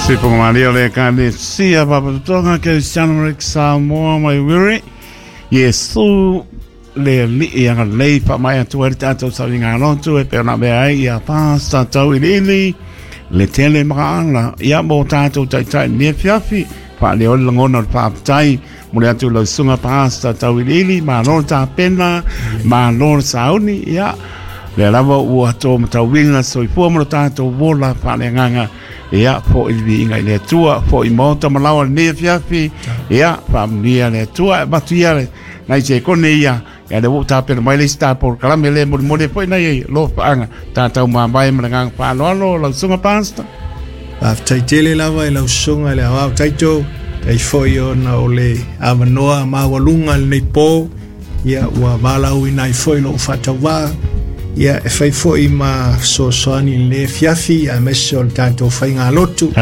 Sipomalia le Ekalesia Faalapotopotoga Kerisiano Rick Samoa mai Wiri Iesu le Alii agalelei faamaea atu ai le tatou sauniga lotu e pei ona avea ai ia Pastor Tauiliili le tele makaala ia mo tatou taitai i lenei afiafi. Faaleo le lagona o le faafetai mole atu i lau susuga Pastor Tauiliili, malo le tapena, malo le sauni, ia lea lava ua to matauina soifua mo lo tatou ola faaleagaga. Ia, foi le viiga i le Atua, foi maota ma laoa lenei afiafi. Ia, faamanuia le Atua, e avatu ia le nai sekone ia, ia lea ua ou tapena mai le isi ta polokalame lea e molimoli ai foi nai alofaaga tatou mavae ma le agaga faaaloalo lau susuga Pastor. Faafetai tele lava i lau susuga i le Aoao Taito, tai foi ona o le avanoa maualuga lenei po, ia ua valaauina ai foi lou faatauvaa, ia e fai foi ma fesoasoani i lenei afiafi, aemaise o le tatou faigalotu.